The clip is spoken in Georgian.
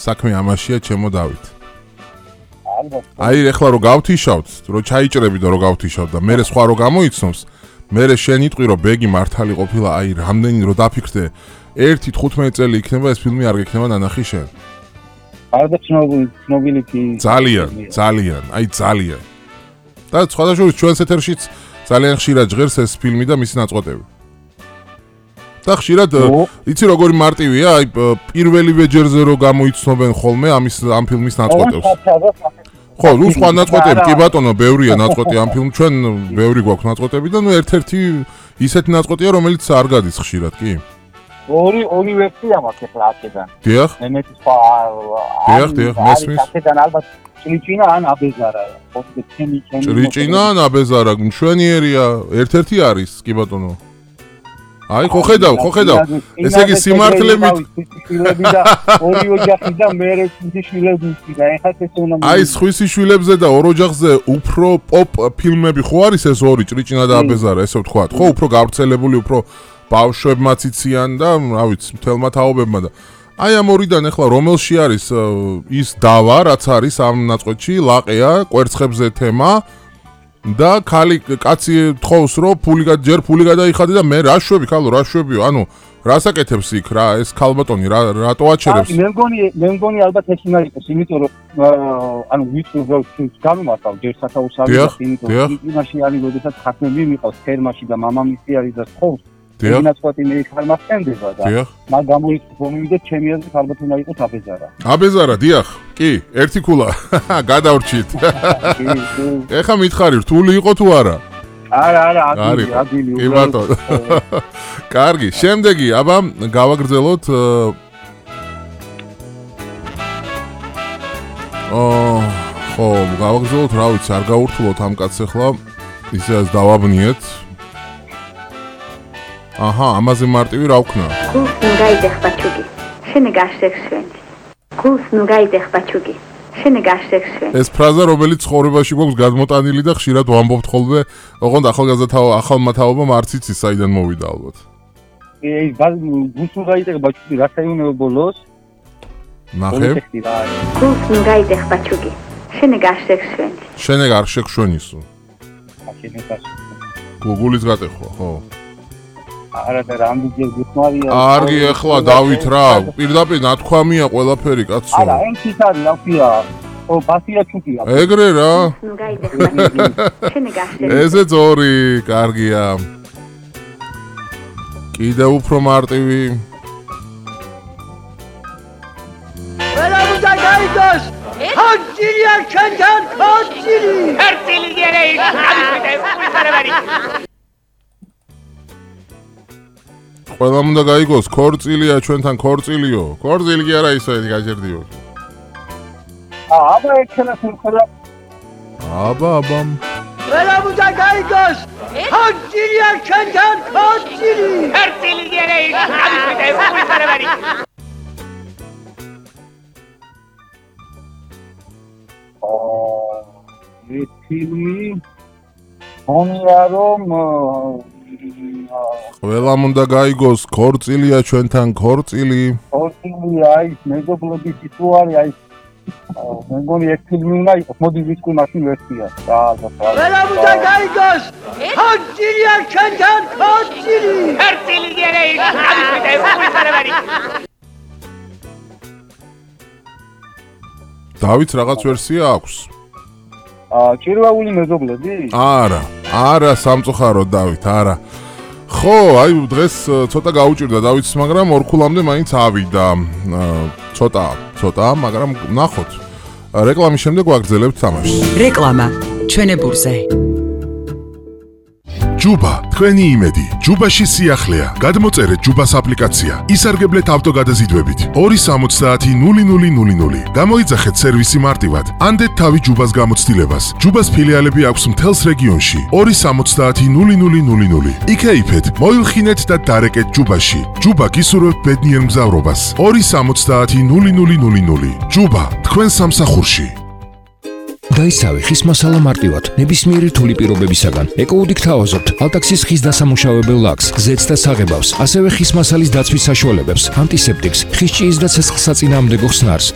საქმე ამაშია ჩემო დავით. აი ეხლა რო გავთიშავთ, რო ჩაიჭრები და რო გავთიშავთ და მე სხვა რო გამოიცნობს, მე შენ იტყვი რომ ბეგი მართალი ყოფილა, აი რამდენი რო დაფიქრდე, 1-15 წელი იქნება ეს ფილმი არ გექნება ნანახი შენ. არდა ცნობილი კი ძალიან, აი ძალიან. და სხვადასხვა ჩვენს ეთერშიც ძალიან ხშირად ჟღერს ეს ფილმი და მისი ნაწყვეტები. და ხშირად იცი როგორი მარტივია, აი პირველივე ჯერზე რო გამოიცნობენ ხოლმე ამ ფილმის ნაწყვეტებს. ხო, ნუ სხვა ნაწყვეტები, კი ბატონო, ბევრია ნაწყვეტი ამ ფილმ, ჩვენ ბევრი გვაქვს ნაწყვეტები და ნუ ერთ-ერთი ისეთი ნაწყვეტია, რომელიც არ გადის ხშირად, კი? ორი ვერსია მაქვს ახლა აქედან. დიახ. მემეთი სხვა დიახ, მესმის. აქედან ალბათ ჭრიჭინა ან აბეზარა. ჭრიჭინა ან აბეზარა, მშვენიერია, ერთ-ერთი არის, კი ბატონო. აი ხო ხედავ. ესე იგი სიმართლე და ორი ოჯახი და მე ერთი შვილები და ეხლა ეს უნდა აი სხვისი შვილებზე და ორ ოჯახზე უფრო პოპ ფილმები ხო არის ეს ორი ჭრიჭინა და აბეზარა, ესე ვთქვათ, ხო, უფრო გავრცელებული, უფრო ბავშვებმაც იციან და რა ვიცი, მთელმა თაობებმა და აი ამ ორიდან ახლა რომელში არის ის დავა, რაც არის ამ ნაწყვეტში, ლაყეა, კვერცხებზე თემა და კაცი თხოვს რომ ჯერ ფული გადაიხადე და მე რა შვებიო, ანუ რასაკეთებს იქ რა ეს ქალბატონი რატო აჩერებს? მე მგონი ალბათ ეს უნდა იყოს, იმიტომ რომ ანუ ვიცი რომ გამომართავ ჯერ სათავსავი და იმაში არის, როდესაც ხათმები მიყავს ფერმაში და მამამისი არის და თხოვს ინაცვატი მე ხალმახენდება და მაგ გამოიწვევი და ჩემი აზრით ალბათ უნდა იყოს აბეზარა. აბეზარა, დიახ, კი, ერთი ქულა. გადავრჩით. ეხა მითხარი, რთული იყო თუ არა? არა, ადვილი. კი ბატონო. კარგი, შემდეგი, აბა გავაგრძელოთ ხო, გავაგრძელოთ, რა ვიცი, არ გაურთულოთ ამ კაცს ახლა. ისეაც დავაბნიეთ. აჰა, ამაზე მარტივი რა ვქნა? გულს ნუ გაიდეხ ბაჩუგი, შენი გაშექსვენდი. გულს ნუ გაიდეხ ბაჩუგი, შენი გაშექსვენდი. ეს ფრაზა, რომელიც ცხოვრებაში გვაქვს გადმოტანილი და ხშირად ვამბობთ ხოლმე, ოღონდ ახალმა თაობამ არც იცის საიდან მოვიდა ალბათ. გულს ნუ გაიდეხ ბაჩუგი, რა საიმუნო ბოლოს? ნახე. გულს ნუ გაიდეხ ბაჩუგი, შენი გაშექსვენდი. შენი გაშექსვენისო. გუგულის გატეხვა, ხო. არა და რამდენჯერ გუთმარია. არგი ახლა დავით რა, პირდაპირ ნათქვამია ყველაფერი კაცო. არა, ენქის არის, აქვია. ო, ბასია ჩუკია. ეგრე რა. ნუ გაიდეხ ბაჩუგი, შენი გაშექსვენდი. ესეც ორი, კარგია. კიდე უფრო მარტივი. ყველა უნდა გაიგოს. ხოჭილია ჩვენთან ხოჭილი. ხერწილი გერე ის ამიტე უხარებარი. ყველამ უნდა გაიგოს, ქორწილია ჩვენთან ქორწილიო. ქორწილი კი არა ისო გაჯერდიო. აბა ექნა ხერხელა. აბა. ყველა უნდა გაიგოს. ხოჭილია ჩვენთან ხოჭილი. ხერწილი გერე ის ამიტე უხარებარი. ეს ფილმი ხონია რომ ყველამ უნდა გაიგოს, ქორწილია ჩვენთან ქორწილი. ქორწილია ის მეგობრობის ისუარი აი მე მგონი ეს ფილმი უნდა იყოს, მოდი ვისკი მაშინ ვერსია. ყველა უნდა გაიგოს. ხოჭილია ჩვენთან ხოჭილი. ხერწილი გერე ის ამიტე უხარებარი. დავით რაღაც ვერსია აქვს? ჭირვაული მეზობლები? არა, სამწუხაროდ დავით, არა. ხო, აი დღეს ცოტა გაუჭირდა დავითს, მაგრამ ორქულამდე მაინც ავიდა. ცოტა, მაგრამ ნახოთ. რეკლამის შემდეგ ვაგრძელებთ თამაშს. რეკლამა ჩვენებურზე. ჯუბა, თქვენი იმედი. ჯუბაში სიახლეა. გადმოწერეთ ჯუბას აპლიკაცია. ისარგებლეთ ავტოგადაზიდვებით. 270-0000. გამოიძახეთ სერვისი მარტივად. ანდეთ თავი ჯუბას გამოცდილებას. ჯუბას ფილიალები აქვს მთელს რეგიონში. 270-0000. იქეიფეთ, მოილხინეთ და დარეკეთ ჯუბაში. ჯუბა გისურვებთ ბედნიერ მგზავრობას. 270-0000. ჯუბა, თქვენ სამსახურში. გაიცავი ხის მასალა მარტივად, ნებისმიერი რთული პირობებისაგან. ეკოუდი გთავაზობთ ალტაქსის ხის დასამუშავებელ ლაქს, ზეთს და საღებავს, ასევე ხის მასალის დაცვის საშუალებებს, ანტისეპტიკს, ხის ჭიის და ცეცხლსაწინააღმდეგო ხსნარს.